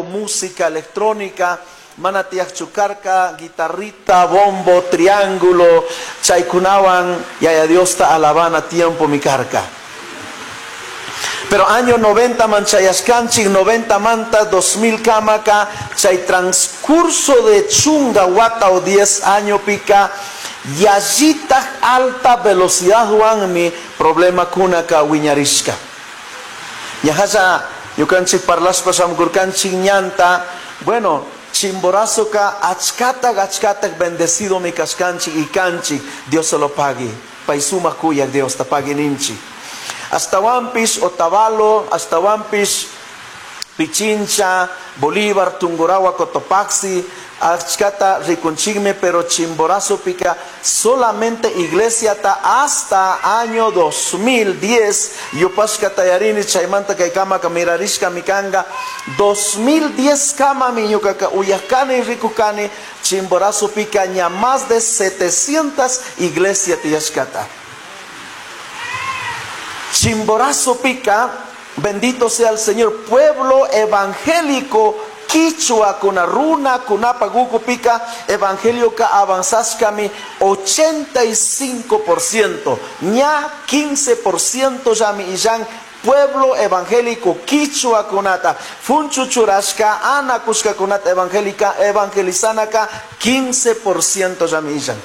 Música electrónica mana tiyaqchu karka, guitarrita, bombo, triángulo, chaykunawan Yaya Diosta alabana tiempo mi karka. Pero año 90 man chayashkanchik, 90 manta 2000 kamaka, chay transcurso de chunga wata o 10 año pika, yallitaj alta velocidad wanmi problema kunaka wiñarishka. Ñajalla ñukanchik parlashpa shamkurkanchik ñanta, bueno, Chimborazo ka achkatak achkatak bendecido mi kashkanchik y kanchik, Dios se lo pague. Pay sumak kuyak Dios ta pagui ninchik. Ashtawanpish Otavalo, ashtawanpish Pichincha, Bolívar, Tungurahua, Cotopaxi, achkata rikunchikmi, pero Chimborazo pika solamente iglesiata hasta año 2010 yupashkata yarini, chaymanta kay kamaka mirarishka mikanga 2010 kamami ñukaka uyakani rikukani Chimborazo pika ña más de 700 iglesia tiyashkata. Chimborazo pica, bendito sea el Señor, pueblo evangélico quichua kuna runa kunapa guku pica, evangelio ka avanzashkami 85%, ña 15% yami illan pueblo evangélico quichua kunata, funchu churashka, ana kushka kunata evangélica, evangelizanaka 15% yami illan.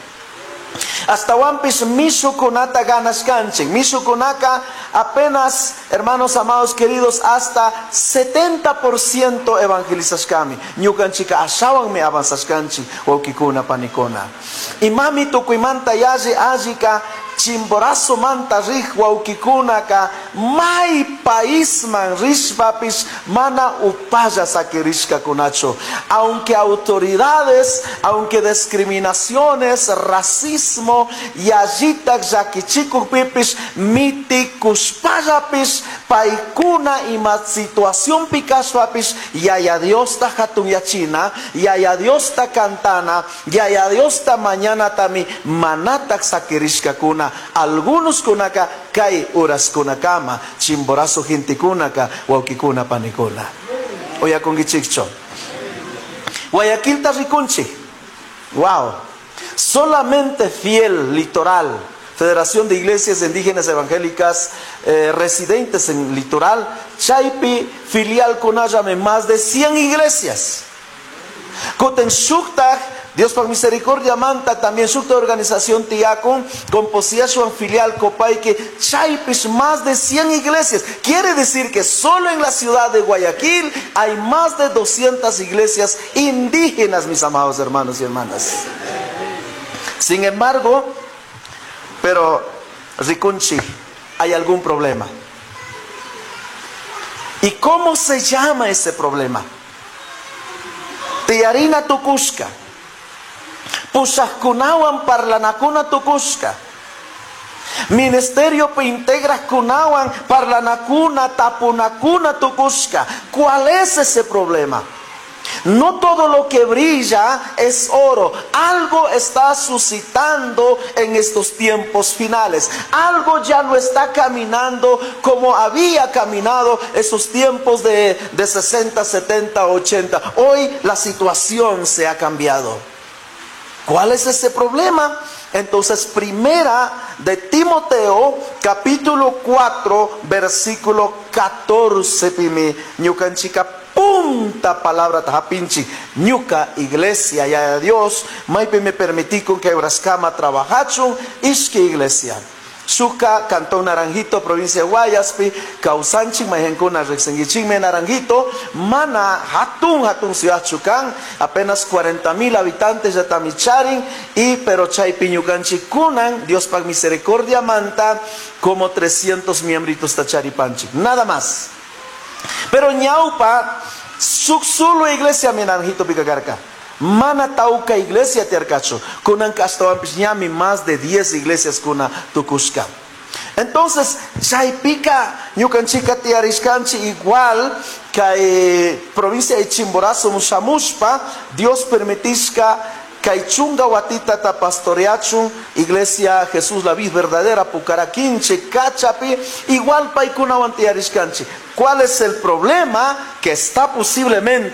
Hasta wampis mishukunata ganashkanchik. Mishukunaka apenas, hermanos amados queridos, hasta 70% evangelizashkami. Ñukanchika ashawanmi avanzashkanchik, wawkikuna panikuna. Imami tukuymanta yalli allika Chimborazo manta rij wawkikunaka may paisman rishpapis mana upalla sakirishkakunachu. Aunque autoridades, aunque discriminaciones, racismo, yallitak llakichikukpipis, mitikushpallapis, paykuna ima situación pikashpapis, Yaya Diosta hatunyachina, Yaya Diosta cantana, Yaya Diosta mañana tami manatak sakirishkakuna. Algunos kunaka kay uraskunakama, Chimborazo gentekunaka, wawkikuna panikuna. Oyakunkichikcho. Guayaquilta rikunchi. Wow. Solamente fiel litoral. Federación de Iglesias Indígenas Evangélicas residentes en litoral, Chaypi, filial kunayame más de 100 iglesias. Koten shuktaj, Dios por misericordia manta, también shukta organización tiakun, con posición filial Copaike, Chaypis, más de 100 iglesias. Quiere decir que solo en la ciudad de Guayaquil hay más de 200 iglesias indígenas, mis amados hermanos y hermanas. Sin embargo, pero Rikunchi, hay algún problema. ¿Y cómo se llama ese problema? Tiyarina tukushka, pushajkunawan parlanakuna tukushka, ministerio integrajkunawan parlanakuna tapunakuna tukushka. ¿Cuál es ese problema? No todo lo que brilla es oro. Algo está suscitando en estos tiempos finales. Algo ya no está caminando como había caminado esos tiempos de 60, 70, 80. Hoy la situación se ha cambiado. ¿Cuál es ese problema? Entonces, primera de Timoteo, capítulo 4, versículo 14, pimi, ñukanchika punta palabra tajapinchi, ñuka iglesia, ya Dios, maipi me permití con que Braskama trabajachun, ishki iglesia. Shuka, Cantón Naranjito, provincia de Guayaspi, Causanchi, Majencuna, Rexenguichime, Naranjito, Mana, Hatun, Hatun, Ciudad Chucán, apenas 40,000 habitantes de Tamicharin, y pero Chaypiñucanchi, Cunan, Dios pag misericordia manta, como 300 miembritos tacharipanchi, nada más. Pero ñaupa, solo iglesia mi Naranjito picacarca. Mana tauca iglesia tiarcacho. Kunan castoampis ñami más de 10 iglesias kuna tukushka. Entonces, chaypica, ñukanchika tiarishkanchi igual kay provincia de Chimborazo mushamushpa, Dios permitishka kay chunga watita ta pastoreachun, iglesia Jesús la Vid verdadera, Pucaraquinche, Cachapi, igual paykunawan tiarishkanchi. ¿Cuál es el problema? Que está posiblemente